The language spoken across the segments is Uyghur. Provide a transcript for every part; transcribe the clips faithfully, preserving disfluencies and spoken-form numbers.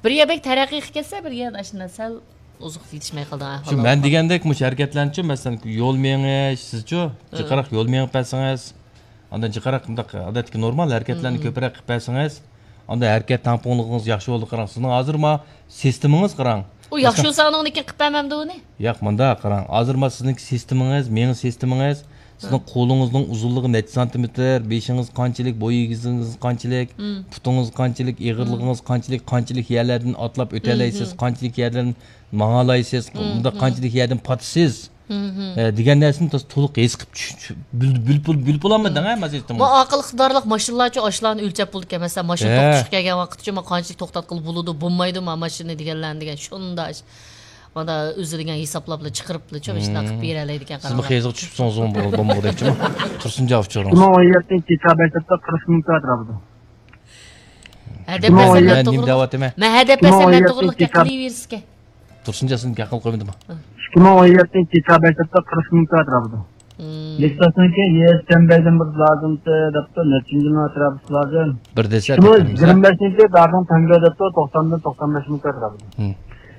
بىر يەر بەك تەرەققىي قىلىپ كەتسە، بىر يەردە ئاشۇنداق سەل ئوزۇق يېتىشمەي قالىدىغان ئەھۋال شۇ بار. مەن دېگەندەك مۇشۇ ھەرىكەتلەرنىچۇ، مەسىلەن، يول مېڭىش، سىزچۇ، ھە. جىقراق يول مېڭىپ بەرسىڭىز، ئاندىن جىقراق مۇنداق ئادەتتىكى نورمال ھەرىكەتلەرنى ھىم. كۆپرەك قىلىپ بەرسىڭىز، ئاندىن ھەرىكەت تەڭپۇڭلۇقىڭىز ياخشى بولىدۇ. قاراڭ، سىزنىڭ ھازىر ما سىستېمىڭىز قاراڭ. ئۇ ياخشى مەسىلەن، بولسا ئاندىن كېيىن قىلىپ بەرمەمدۇ ئۇنى؟ ياق، مۇنداق قاراڭ. ھازىر ما سىزنىڭكى سىستېمىڭىز، مېڭە سىستېمىڭىز، سىزنىڭ ھە. قولىڭىزنىڭ ئۇزۇنلۇقى نەچچە سانتىمېتىر، بېشىڭىز قانچىلىك، بوي ئېگىزىڭىز قانچىلىك، ھىم. پۇتىڭىز قانچىلىك، ھىم. ئېغىرلىقىڭىز قانچىلىك، قانچىلىك يەرلەردىن ئاتلاپ ھىم، ئۆتەلەيسىز، ھىم. قانچىلىك يەردىن ماڭالايسىز، ھىم، مۇنداق ھىم. قانچىلىك يەردىن پاتىسىز. ھىم، ھىم. ئە، دېگەن نەرسىنى تاس-، تولۇق ھېس قىلىپ چۈش-، چۈ-، بىل-، بىلىپ بول-، بىلىپ بولالمىدىڭ، ھە، مەن سىستېما. ما ئاقىل ئىقتىدارلىق ماشىنىلارچۇ ئاشۇلارنى ئۆلچەپ بولىدىكەن. مەسىلەن، ماشىنا ھە. توختىشىپ كەلگەن ۋاقىتچۇ، ما قانچىلىك توختاتقىلى بولىدۇ، بولمايدۇ، ما ماشىنا دېگەنلەرنى دېگەن. شۇنداق ئىش. مانا ئۆزى دېگەن ھېسابلاپلا چىقىرىپلا چۇ، ماشۇنداق قىلىپ ھىم. بېرەلەيدىكەن، سىزمۇ قاراڭلار. خېزىغا چۈشۈپسىڭىز بولمىغۇدەكچىمۇ؟ تۇرسۇنجان ئۇچۇرىڭىز. ئىككى مىڭ ئون يەتتىنچى يىل دېكابىر سەپتە قىرىق مىڭ كۋادرات بولدى. ھەدەپ مەن بەرسەم نېمە دەۋاتىمەن؟ مەن ھەدەپ بەرسەم مەن توغرىلىق گەپ قىلىۋېرىسىكەن. تۇرسۇنجان سىزنى گەپ قىلىپ قويمىدىمۇ؟ ئىككى مىڭ ئون يەتتىنچى يىل دېكابىر سەپتە قىرىق مىڭ كۋادرات بولدى. مم. لېكساسنىڭكى يېس چەمبەردىن بىر لازىمتى دەپتۇ، نەچچىنچى مىڭ ئەتراپىسى لازىم. بىر دېسە ئىككى مىڭ يىگىرمە بەشىنچى دادىڭ تەڭگە دەپتۇ، توقساندىن توقسان بەش مىڭ كۋادرات بولدى. مم.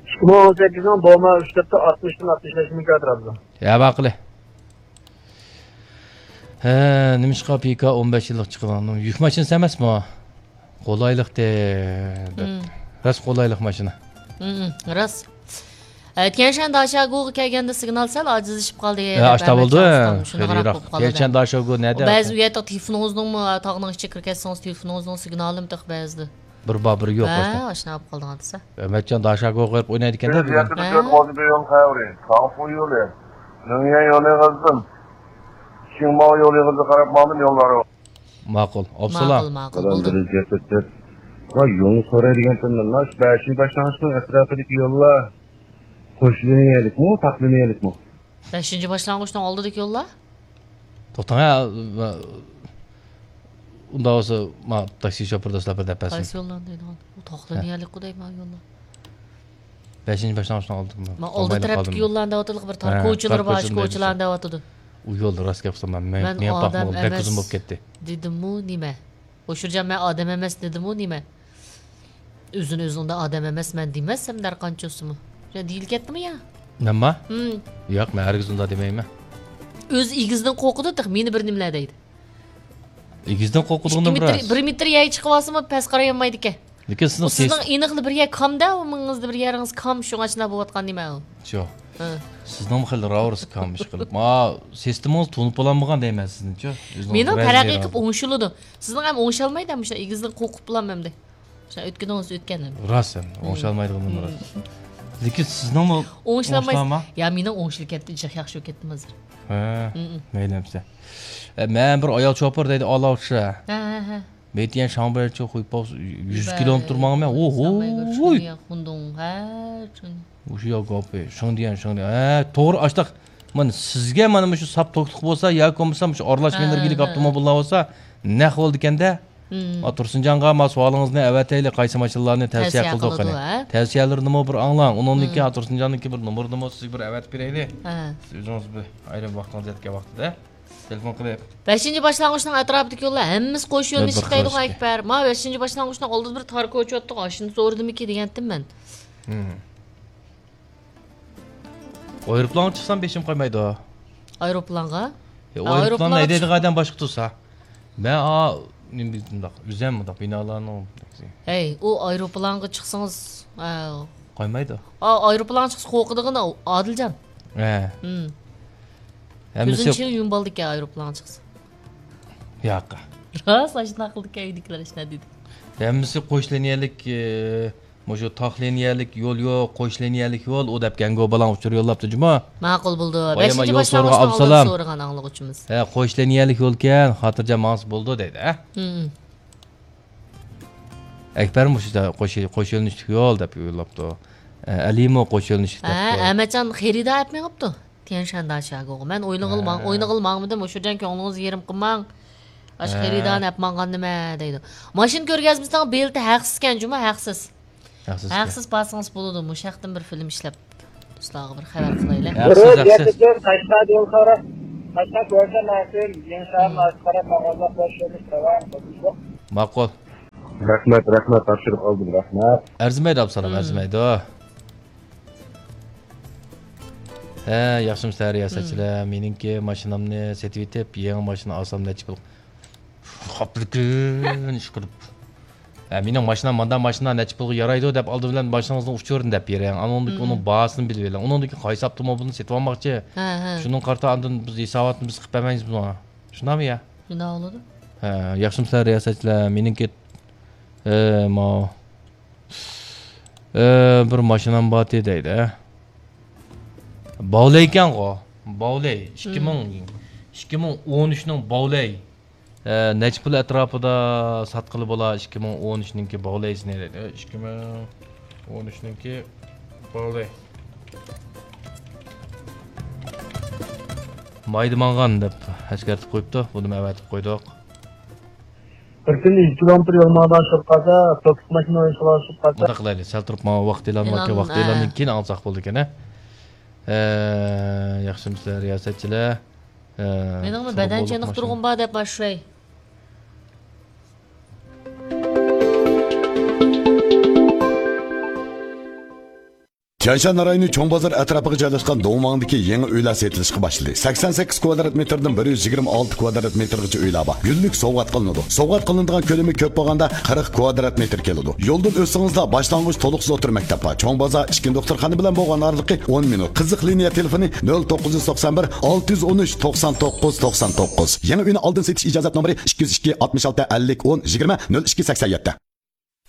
ئىككى مىڭ ئون سەككىزنىڭ دوما ئۈچ دەپتۇ، ئاتمىشتىن ئاتمىش بەش مىڭ كۋادرات بولدى. يا باقىلى. ھە، نېمىشقا پىكا ئون بەش يىللىق چىقىدىغان؟ يۈك ماشىنىسى ئەمەسمۇ؟ قولايلىق دەپ. مم. راست قولايلىق ماشىنا. مم، راست. ئە، تيەنشان داشاگوغا كەلگەندە سىگنال سەل ئاجىزلىشىپ قالدى، ھە، دەپ ئاشتا بولدى. ئەمەتجان ئۇستام شۇنداقراق خېلىراق. بولۇپ قالدى. تيەنشان داشاگو نەدە؟ بەزى ئۇ يەردە تېلېفونىڭىزنىڭمۇ، تاغنىڭ ئىچىگە كىرىپ كەتسىڭىز، تېلېفونىڭىزنىڭ سىگنالىمۇ تېخى بەزىدە. بىر بار، بىر يوق ھە، باشتا. ئاشۇنداق بولۇپ قالدىغان دېسە. ئەمەتجان داشاگوغا بېرىپ ئوينايدىكەن-دە بۈگۈن. بىز يەتتە تۆت ماۋزۇ بىيون خەۋرى، تاڭفۇ يولى، مېڭيەن يولى غىزدىن، شىڭماۋ يولى غىزى قاراپ ماڭدىم يوللارغا. ماقۇل. ئابسالام. ماقۇل، ماقۇل، بولدى. ۋاي، يولنى سورايدىغان تۇرمىدىم. مانا شۇ بەشىنچى باشلانغۇچنىڭ ئەتراپىدىكى يوللار قوشلىنىيەلىكمۇ، تاقلىنىيەلىكمۇ؟ بەشىنچى باشلانغۇچنىڭ ئالدىدىكى يوللار؟ توختاڭ، ھە، ئۇنداق بولسا، ما، تاكسى شوپۇر دوستلار بىر دەپ بەرسۇن. قايسى يوللارنى دەيدىغان؟ ئۇ تاقلىنىيەلىكقۇ دەيمەن يوللار. بەشىنچى باشلانغۇچنىڭ ئالدىدا. ما، ئالدى تەرەپتىكى يوللارنى دەۋاتىدۇ، بىر تار كوچىلىرى بار، شۇ كوچىلارنى دەۋاتىدۇ. ئۇ يولدا راست گەپ قىلسام، مەن مېڭىپ باقمىغان، بەك ئۇزۇن بولۇپ كەتتى. دېدىممۇ نېمە؟ ھوشۇرجان، مەن ئادەم ئەمەس دېدىمۇ نېمە؟ ئۆزىنى ئۆزى ئۇنداق ئادەم ئەمەسمەن دېمەسسەم دەرقانچە بولسىمۇ. يا دېيىلىپ كەتتىمۇ يا؟ مەنما؟ ھىم. ياق، مەن ھەرگىز ئۇنداق دېمەيمەن. ئۆزى ئېگىزدىن قورقىدۇ تېخى، مېنى بىر نېمىلەر دەيدۇ. ئېگىزدىن قورقىدىغىنىم راست. بىر مېتىر يەرگە چىقىپ ئالسىمۇ پەس قارايالمايدىكەن. لېكىن سىزنىڭ ئېنىقلا بىر يەر كام-دە، ئۇ مېڭىڭىزدە بىر يېرىڭىز كام، شۇڭا شۇنداق بولۇۋاتقان نېمە ئۇ؟ شۇ. ھە. سىزنىڭمۇ خېلى راۋۇرۇس كام ئىشقىلىپ. ما، سىستېمىڭىز تونۇپ بولالمىغان دەيمەن سىزنىچۇ. مېنىڭ تەرەققىي قىلىپ ئوڭشىلىدۇ. سىزنىڭ ھەم ئوڭشالمايدۇ، مۇشۇ ئېگىزدىن قورقۇپ بولامەن ئەمدى. شۇ ئۆتكىنىڭىز ئۆتكەن ئەمدى. راست ئەمدى، ئوڭشالمايدىغىنىم راست. لېكىن سىزنىڭمۇ ئوڭشالمايسىز. ئوڭشىلامۇ؟ يا، مېنىڭ ئوڭشىلىپ كەتتى، جىق ياخشى بولۇپ كەتتىم ھازىر. ھە، مەيلى ئەمسە. ئە، مەن بىر ئايال شوپۇر دەيدۇ، ئالاۋۇشا. ھە، ھە، ھە. 每天上班就会跑 يۈز كىلومېتىر ماڭىمەن. ئوھوي. مۇشۇ يا گاپى. شۇڭدىيەن، شۇڭدىيەن. ھە، توغرا ئاشتاق. مانا سىزگە مانا مۇشۇ ساپ توكلۇق بولسا ياكى بولمىسا مۇشۇ ئارىلاش مېنىرگىلىك ئاپتوموبىللار بولسا نەق بولىدىكەن-دە. ما تۇرسۇنجانغا ما سوئالىڭىزنى ئەۋەتەيلى، قايسى ماشىنىلارنى تەۋسىيە قىلدۇق قېنى؟ تەۋسىيەلىرىنىمۇ بىر ئاڭلاڭ. ئۇنىڭدىن كېيىن تۇرسۇنجاننىڭكى بىر نومۇرىنىمۇ سىزگە بىر ئەۋەتىپ بېرەيلى. سىز ئۆزىڭىز بىر ئايرىم ۋاقتىڭىز يەتكەن ۋاقتىدا تېلېفون قىلىپ. بەشىنچى باشلانغۇچنىڭ ئەتراپىدىكى يوللار ھەممىسى قوش يۆنىلىش دەيدىغۇ ئەكبەر. ما بەشىنچى باشلانغۇچنىڭ ئالدىدا بىر تار كوچا ئوتتۇق، ئاشۇنى سورىدىمىكى دېگەنتىم مەن. ئايروپىلانغا چىقسام بېشىم قايمايدۇ. ئايروپىلانغا؟ ئايروپىلاننى ھەيدەيدىغان ئادەم باشقا تۇرسا. مەن ئا، نېمە بۇنداق، ئۆزەم بۇنداق بىنالارنىڭ. ھەي، ئۇ ئايروپىلانغا چىقسىڭىز، قايمايدۇ. ئا، ئايروپىلانغا چىقسا قورقىدىغىنى ئادىلجان. ھە. كۆزىنى چىڭ يۇمۇپ ئالىدىكەن ئايروپىلانغا چىقسا. ياق. راست، ئاشۇنداق قىلىدىكەن ئۆيدىكىلەر، ئاشۇنداق دېدى. ھەممىسى قوش لىنىيەلىك، ئە، مۇشۇ تاق لىنىيەلىك يول يوق، قوش لىنىيەلىك يول، ئۇ دەپ گەڭگو بالاڭ ئۇچۇر يوللاپتۇ جۇمۇ. ماقۇل بولدى. بەشىنچى باشلانغۇچنىڭ ئالدىدا سورىغان ئاڭلىغۇچىمىز. ھە، قوش لىنىيەلىك يولكەن، خاتىرجەم ماڭسا بولىدۇ دەيدۇ، ھە؟ ئەكبەر مۇشۇ قوش، قوش يۆنىلىشلىك يول دەپ يوللاپتۇ. ئە، ئەلىمۇ قوش يۆنىلىشلىك دەپتۇ. ھە، ئەمەتجان خېرىدار ئەپ مېڭىپتۇ. تيەنشان داشاگوغا. مەن ئوينىغىلى ماڭ-، ھە. ئوينىغىلى ماڭمىدىم. ھوشۇرجان، كۆڭلىڭىزنى يېرىم قىلماڭ. ئاشۇ ھە. خېرىدارنى ئەپ ماڭغان نېمە دەيدۇ. ماشىنا كۆرگەزمىسىنىڭ بېلىتى ھەقسىزكەن جۇمۇ، ھەقسىز. ھەقسىز. ھەقسىز بارسىڭىز بولىدۇ. مۇشۇ ھەقتىن بىر فىلىم ئىشلەپ، دوستلارغا بىر خەۋەر قىلايلى. ھەقسىز، ھەقسىز. قەشقەر يول قارا، قەشقەر كۆرسە مەسىل، يېڭى شەھەر مم. مەسىل قاراپ ماڭغاندا خوش يوللۇق داۋام قىلىشلۇق. ماقۇل. رەھمەت، رەھمەت، تاپشۇرۇپ ئالدىم، رەھمەت. ئەرزىمەيدۇ، ئابسالام، مم. ئەرزىمەيدۇ. ھە، ياخشىمۇسىلەر، رىياسەتچىلەر؟ مم. مېنىڭكى ماشىنامنى سېتىۋېتىپ، يېڭى ماشىنا ئالسام نەچچە پۇل؟ خاپلىكىن ئىشقىلىپ. ھە، مېنىڭ ماشىنام، ماندا ماشىنا نەچچە پۇلغا يارايدۇ دەپ، ئالدى بىلەن ماشىنىڭىزنىڭ ئۇچۇرىنى دەپ بېرىڭ. ئانىڭدىن كېيىن ئۇنىڭ مم. باھاسىنى بىلىۋېلىڭ. ئۇنىڭدىن كېيىن قايسى ئاپتوموبىلنى سېتىۋالماقچى؟ ھە، ھە. شۇنىڭغا قارىتا ئاندىن بىز ھېساباتنى بىز قىلىپ بەرمەيمىز بۇنىڭغا. شۇنداقمۇ يا؟ شۇنداق بولىدۇ. ھە، ياخشىمۇسىلەر، رىياسەتچىلەر؟ مېنىڭكى، ئە، ماۋۇ، ئە، بىر ماشىنام بارتى دەيدۇ. باۋلەي ئىكەنغۇ؟ باۋلەي. ئىككى مىڭ، مم. ئىككى مىڭ ئون ئۈچنىڭ باۋلەي. ئە، نەچچە پۇل ئەتراپىدا ساتقىلى بولا؟ ئىككى مىڭ ئون ئۈچنىڭكى باۋلەيسىنى دەيدۇ. ئىككى مىڭ ئون ئۈچنىڭكى باۋلەي. مايدا ماڭغان دەپ ئەسكەرتىپ قويۇپتۇ. بۇنىمۇ ئەۋەتىپ قويدۇق. بىر كۈندە يۈز كىلومېتىر يول ماڭغان شۇ قازا، توكسىك ماشىنا ئويۇشقا شۇ قازا. مۇنداق قىلايلى، سەل تۇرۇپ ماڭا ۋاقىت ئېلان باركەن، ئېلان، ۋاقىت ھە. ئېلاندىن كېيىن ئاڭلىساق بولىدىكەن، ھە؟ ئە، ياخشىمۇسىلەر، رىياسەتچىلەر؟ ئە، مېنىڭمۇ بەدەن چېنىقتۇرغۇم بار دەپ باشلاي. تيەنشان رايونى چوڭ بازار ئەتراپىغا جايلاشقان دۇڭۋاڭدىكى يېڭى ئۆيلەر سېتىلىشقا باشلىدى. سەكسەن سەككىز كۋادرات مېتىردىن بىر يۈز يىگىرمە ئالتە كۋادرات مېتىرغىچە ئۆيلەر بار. گۈللۈك سوۋغات قىلىنىدۇ. سوۋغات قىلىنىدىغان كۆلىمى كۆپ بولغاندا قىرىق كۋادرات مېتىر كېلىدۇ. يولدىن ئۆتسىڭىزلا باشلانغۇچ تولۇقسىز ئوتتۇرا مەكتەپ بار. چوڭ بازار ئىچكى دوختۇرخانا بىلەن بولغان ئارىلىقى ئون مىنۇت. قىزىق لىنىيە تېلېفونى نۆل توققۇز يۈز توقسان بىر، ئالتە يۈز ئون ئۈچ، توقسان توققۇز، توقسان توققۇز. يېڭى ئۆينى ئالدىن سېتىش ئىجازەت نومۇرى ئىككى يۈز ئىككى، ئاتمىش ئالتە، ئەللىك، ئون، يىگىرمە، نۆل ئىككى، سەكسەن يەتتە.